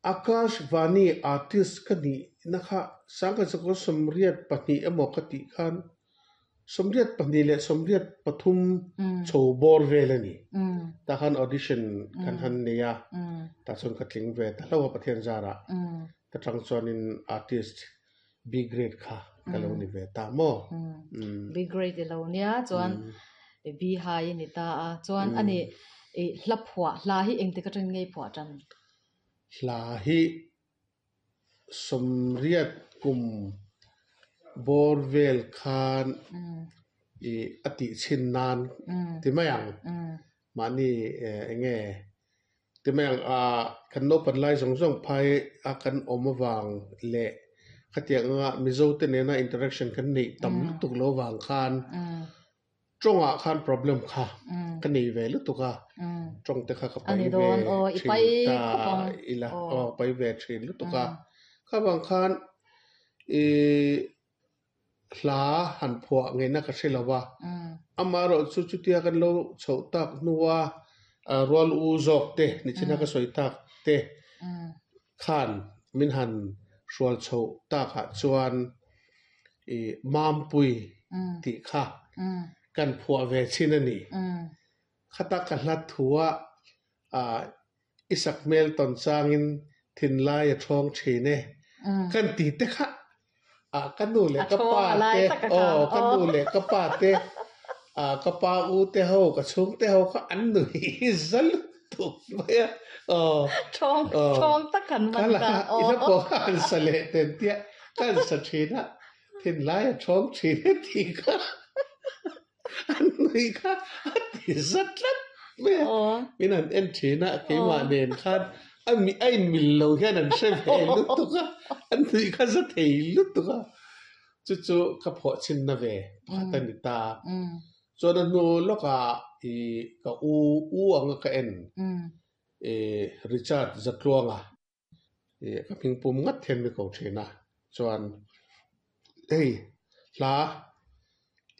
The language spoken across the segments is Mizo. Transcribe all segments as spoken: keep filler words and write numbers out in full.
Akashvani artist ka nih na kha sangkhat zakua sawmriat pahnih emaw ka tih khan sawmriat pahnih leh sawmriat pathum chho bawr vel a ni. Tah khan audition kan han nei a, tah chuan ka tling ve ta hlauh a Pathian zarah. Ta tang chuanin artist B grade kha ka lo ni ve ta maw? B grade i lo nia chuan B high i ni ta a, chuan ani i hla phuah hla hi engtik atangin nge i phuah tan? Hla hi sawmriat kum bawr vel khan i a tih chhin nan ti mai ang. Mahni eng nge ti mai ang ah kan naupan lai zawng zawng phai a kan awm avang leh khatiang anga Mizo te nena interaction kan neih tam lutuk lo vang khan tawngah khan problem kha ka nei ve lutuk a, tawng te kha ka pai ve thin ta ila aw pai ve thin lutuk a. Kha vang khan i hla han phuah ngeihna ka hre lo va, amaherawh chu chutia kan lo chhoh tak hnua rual u zawk te nichina ka sawi tak te khan min han hrual chhoh takah chuan i Mampui tih kha kan phuah ve chin a ni. Khata ka hla thua ah i sak hmel tawn changin thinlai a thawng thin e kan ti te kha ah ka nu leh ka pa te aw ka nu leh ka pa te ah ka pa u te ho ka chhung te ho kha an nui za lutuk mai a aw Thawng thawng tak han man ta aw i hla pawh kha han sa leh ten tia ka han sa thin a thinlai a thawng thin e tih kha an nui kha a ti za tlat mai a min han en thin a keimah nen khan a mi a inmil lo hian an hre ve lutuk a an nui kha za thei lutuk a chu chu ka phuah chhinna ve pakhat a ni ta chuan a hnu lawkah ih ka u u anga ka en ih Richard Zatluanga ih ka hming pum ngat hian mi ko thin a chuan hei hla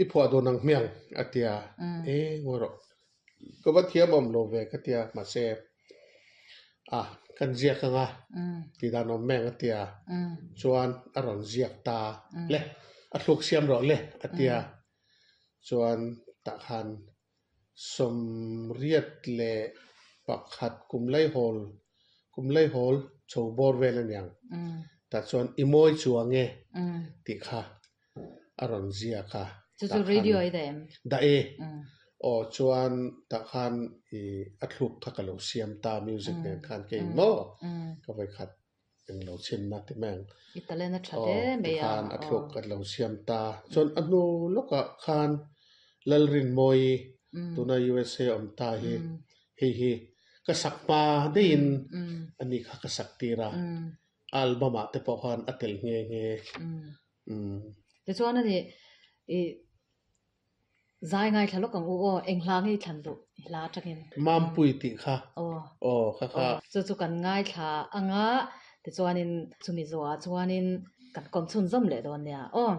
i phuah dawn ang hmiang a tia e ngawi rawh ka va thiam awm lo ve ka tia mahse ah kan ziak anga tih dan awm mek a tia chuan a rawn ziak ta le a thluk siam rawh le a tia chuan tah khan sawmriat leh pakhat kum laihawl kum laihawl chho bawr vel a niang tah chuan i mawi chuang e tih kha a rawn ziak a Chu chu radio i dah em? Dah e aw chuan tah khan i a thluk kha ka lo siam ta music nen khan kei maw ka vawikhat eng lo chhinna ti mai ang I talent a tha hle mai a khan a thluk ka lo siam ta chuan a hnu lawkah khan Lalrinmawi tuna U S A awm ta hi hei hi ka sak hma deihin ani kha ka sak tir a album ah te pawh khan a tel nghe nghe. Tichuan ani i zai ngaithla lawk ang u aw eng hla nge i thlan duh i hla atangin. Mampui tih kha aw aw kha kha chu chu kan ngaithla anga tichuanin chumi zawhah chuanin kan kawm chhunzawm leh dawn nia aw.